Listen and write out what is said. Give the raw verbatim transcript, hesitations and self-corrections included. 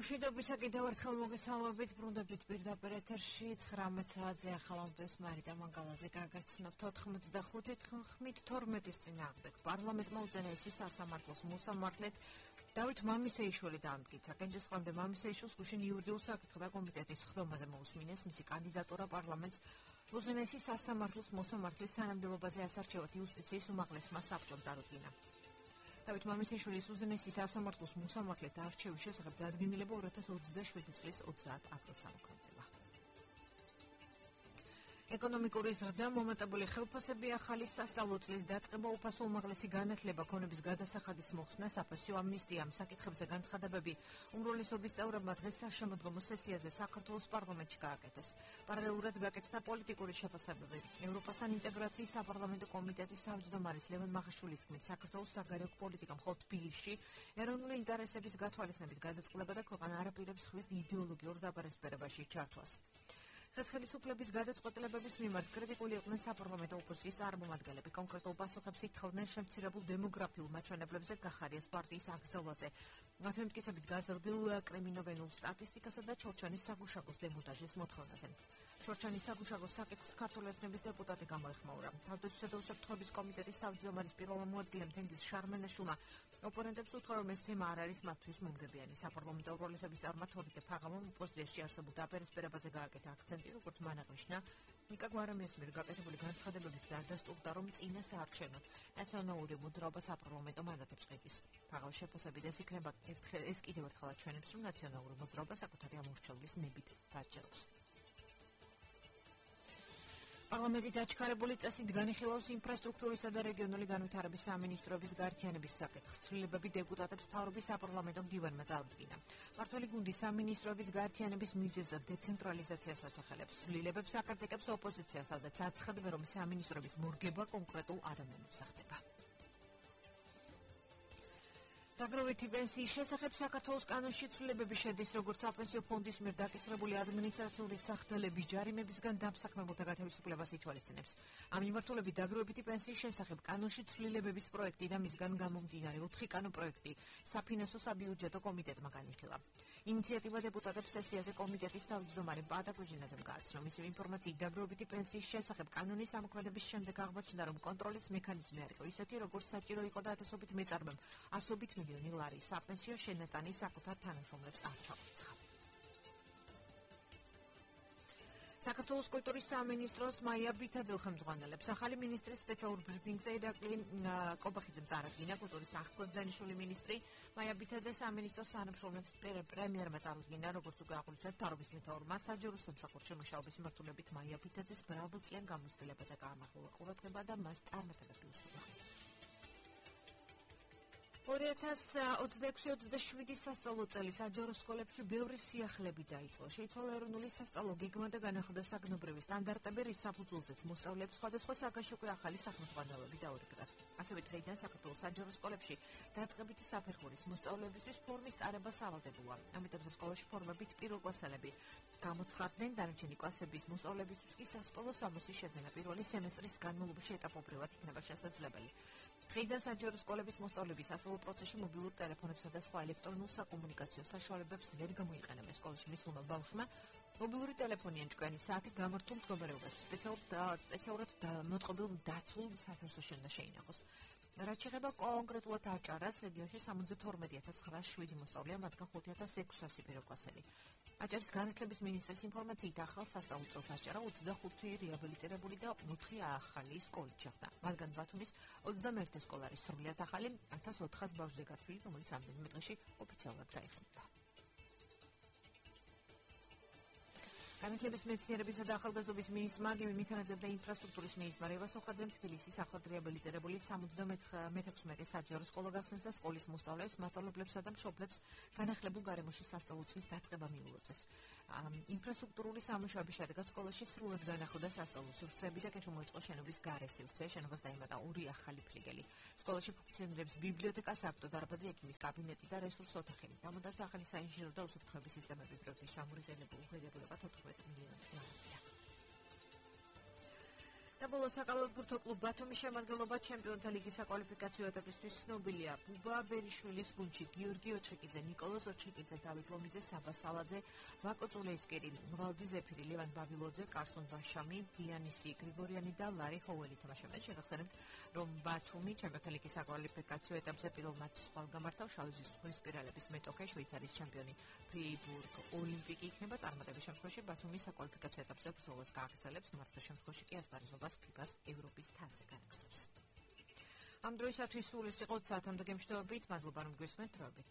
მშვიდობისა კიდევ ერთხელ მოგესალმებით, ბრუნდებით პირდაპირ ეთერში ცხრამეტ საათზე ახალამბებს მარიტა მანგალაძე გაგაცნობთ ოთხმოცდახუთი ხმით თორმეტის წინააღმდეგ პარლამენტმა უზენაესი სასამართლოს მოსამართლედ დავით მამისეიშვილი დაამტკიცა. კენჭისყრამდე მამისეიშვილს გუშინ იურიდიულ საკითხთა კომიტეტის ხდომაზე მოусმინეს მისი კანდიდატურა პარლამენტს უზენაესი სასამართლოს მოსამართლის თანამდებობაზე ასარჩევად იუსტიციის უმაღლესმა საბჭომ წარუდგინა. დავით მამისეიშვილის უზენაესი სასამართლოს მოსამართლედ არჩევის შესახებ დადგენილება ორი ათას ოცდაშვიდი წლის ოცდაათ აპრილს ამოქმედება. ეკონომიკური ზრდა, მომატებული ხელფასები, ახალი სასწავლო წლის დაწყება, უფასო უმაღლესი განათლება, ქონების გადასახადის მოხსნა, საფასო ამნისტია, საკითხებზე განცხადებები უმრავლესობის წევრებმა დღეს საშემოდგომო სესიაზე საქართველოს პარლამენტში გააკეთეს. პარალელურად გაკეთდა პოლიტიკური შეფასებები. ევროპასთან ინტეგრაციის საპარლამენტო კომიტეტის თავმჯდომარის ლევან მაღაშვილის თქმით, საქართველოს საგარეო პოლიტიკა მხოლოდ თბილისში ეროვნული ინტერესების გათვალისწინებით გადაწყდება და ქვეყანა არ აპირებს ხვის იდეოლოგიურ დაპარესპერებაში ჩართვას. დღეს ხელისუფლების გადაწყვეტილებების მიმართ კრიტიკული იყვნენ საპარლამენტო ოპოზიციის წარმომადგენლები. კონკრეტულ პასუხებს ითხოვდნენ შემცირებულ დემოგრაფიულ მაჩვენებლებზე გახარიას პარტიის აკრძალვაზე. მათ მტკიცებით გაზრდილ კრიმინოგენულ სტატისტიკასა და ჩორჩანის საგუშაგოს დემონტაჟის მოთხოვნაზე. ჩორჩანის საგუშაგოს საკითხს ქართული ეთნების დეპუტატი გამოეხმაურა. თავდაცვისა და უსაფრთხოების კომიტეტის თავმჯდომარის პირველ მოადგილემ თენგიზ შარმენაშვილმა ოპონენტებს უთხრა, რომ ეს თემა არ არის მათთვის მომგებიანი. საპარლამენტო უმრავლესობის წარმა თორნიკე ფაღამომ ოპოზიციაში არსებულ დაპერესპერებაზე გააკეთა აქცენტი, როგორც მან აღნიშნა, ნიკა გვარამიას მიერ გაკეთებული განცხადებებით დადასტურდა, რომ წინა საარჩევნოდ ნაციონალური მოძრაობა საპარლამენტო მანდატებს ყიდის. ფაღავის შეფასებით ეს იქნება ერთხელ ეს კიდევ ერთხელ აჩვენებს, რომ ნაციონალური მოძრაობა საკუთარი ამორჩეულის ნებით დაჯერებს. პარლამენტი დაჩქარებული წესით განიხილავს ინფრასტრუქტურისა და რეგიონული განვითარების სამინისტროების გაერთიანების საკითხს. ცვლილებები დეპუტატებს მთავრობის საპარლამენტო მდივანმა წარუდგინა. მმართველი გუნდი სამინისტროების გაერთიანების მიზეზად დეცენტრალიზაციას ასახელებს. ცვლილებებს აკრიტიკებს ოპოზიცია, სადაც აცხადებს, რომ სამინისტროების მორგება კონკრეტულ ადამიანებს ხდება. დაგროვითი პენსიის შესახებ საქართველოს კანონში ცვლილებები შედის, როგორც საპენსიო ფონდის მიერ დაკისრებული ადმინისტრაციული სახდელების ჯარიმებისგან დამსაქმებულთა გათავისუფლებას ითვალისწინებს. ამ მიმართულებით დაგროვითი პენსიის შესახებ კანონში ცვლილებების პროექტი და მისგან გამომდინარე ოთხი კანონპროექტი საფინანსო საბიუჯეტო კომიტეტმა განიხილა. ინიციატივა დეპუტატებს სესიაზე კომიტეტის თავმჯდომარე პატა კუჟინაძემ გააცნო. მისი ინფორმაციით დაგროვითი პენსიის შესახებ კანონის ამოქმედების შემდეგ აღმოჩნდა, რომ კონტროლის მექანიზმი არ იყო ისეთი, როგორც საჭირო იყო და ათასობით მეწარმემ ასობით მილიონი ლარი საპენსიო შენატანი საკუთარ თანამშრომლებს არ ჩაუწყა. საქართველოს კულტურის სამინისტროს მაია ბითაძე ხელმძღვანელებს ახალი ministris სპეციალურ ბრიფინგზე ირაკლი კობახიძემ წარადგინა. კულტურის აღქმედანიშვილი ministri მაია ბითაძე სამინისტროს თანამშრომლებს პრემიერმა წარუდგინა, როგორც უკვე აღნიშნეთ, თავრობის მეთაურმა საჯარო სამსახურში მუშაობის მიმართულებით მაია ბითაძეს მრავალწლიან გამოცდილებაზე გაამახვილა ყურადღება და მას წარმატებები უსურვა. ორი ათას ოცდაექვსი ოცდაშვიდი სასწავლო წელი საჯარო სკოლებში ბევრი სიახლეები დაიწყო. შეიცვალა ეროვნული სასწავლო გეგმა და განახლდა საგნობრივი სტანდარტები, რის საფუძველზეც მოსწავლეებს სხვადასხვა საგანში უკვე ახალი სახელმძღვანელოები დაურიგდათ. ასევე დღეიდან საქართველოს საჯარო სკოლებში დაწყებითი საფეხურის მოსწავლეებისთვის ფორმის ტარება სავალდებოა. ამიტომ სკოლაში ფორმებით პირველკლასელები გამოცხადდნენ, დანარჩენი კლასების მოსწავლეებისთვის კი სასკოლო სამოსის შეძენა პირველი სემესტრის განმავლობაში ეტაპობრივად იქნება შესაძლებელი. დღეიდან საჯარო სკოლების მოსწავლეების ასწავლო პროცესში მობილურ ტელეფონებსა და სხვა ელექტრონულ საკომუნიკაციო საშუალებებს ვერ გამოიყენებენ. სკოლაში მისულმა ბავშვმა მობილური ტელეფონი ან ჭკვიანი საათი გამართულ მდგომარეობაში სპეციალურად მოწყობილ დაცულ სათევზოში უნდა შეინახოს. რაც შეეხება კონკრეტულად აჭარას, რეგიონში სამოცდათორმეტი ათას ცხრაას შვიდი მოსწავლეა, მათგან ხუთი ათას ექვსასი პირველკლასელი. აჭარის განათლების მინისტრის ინფორმაციით ახალ სასწავლო წელს აჭარა ოცდახუთი რეაბილიტირებული და ოთხი ახალი სკოლით შეხვდა. მათგან ბათუმის ოცდამეერთე სკოლა არის სრულიად ახალი, ათას ოთხას ბავშვზე გათვლილი, რომელიც ამდენიმე დღეში ოფიციალურად გაიხსნება. განათლების მეცნიერებისა და ახალგაზრდობის მინისტრმა გიმი მიქანაძემ და ინფრასტრუქტურის მინისტრმა რევაზ სოხაძემ თბილისის ახლად რეაბილიტირებული სამოცდამეთექვსმეტე საჯარო სკოლა გახსნეს და სკოლის მოსწავლეებს, მასწავლებლებსა და მშობლებს განახლებულ გარემოში სასწავლო წლის დაწყება მიულოცეს. ინფრასტრუქტურული სამუშაოების შედეგად სკოლაში სრულად განახლდა სასწავლო სივრცეები და კეთილ მოიწყო შენობის გარე სივრცე. შენობას დაემატა ორი ახალი ფლიგელი. სკოლაში ფუნქციონირებს ბიბლიოთეკა, საკვირტო დარბაზი, ექიმის კაბინეტი და რესურს ოთახი. დამონტაჟდა ახალი საინჟინრო და უსაფრთხოების სისტემები. პროექტის ჩამორიგებულება თოთხმეტ მილიონი ლარია. და ბოლოს საკალათბურთო კლუბ ბათუმის შემადგენლობა ჩემპიონთა ლიგის საკვალიფიკაციო ეტაპისთვის ცნობილია. ბუბა ბერიშვილის გუნდში გიორგი ოჩხიკიძე, ნიკოლოზ ოჩხიკიძე, დავით ლომიძე, საბა სალაძე, ვაკო წულეისკერი, ვალდი ზეფირი, ლევან ბაბილოძე, კარსონ ბაშამი, დიანისი გრიგორიანი და ლარი ჰოველი თამაშობენ. შეგახსენებთ, რომ ბათუმი ჩემპიონთა ლიგის საკვალიფიკაციო ეტაპზე პირველ მატჩს ხვალ გამართავს. შავი ზღვის სპირალების მეტოქე შვეიცარიის ჩემპიონი ფრეიბურგ ოლიმპიკი იქნება. წარმატების შემთხვევაში ბათუმის საკვალიფიკაციო ეტაპზე ბრძოლას გააგრძელებს. მარცხის შემთხვევაში კი ასპარეზობას ფიფას ევროპის თასზე განაგრძობს. ამ დროისათვის სულ ეს იყო საათამდე გემშვიდობით. მადლობა რომ გვესმენთ. დროებით.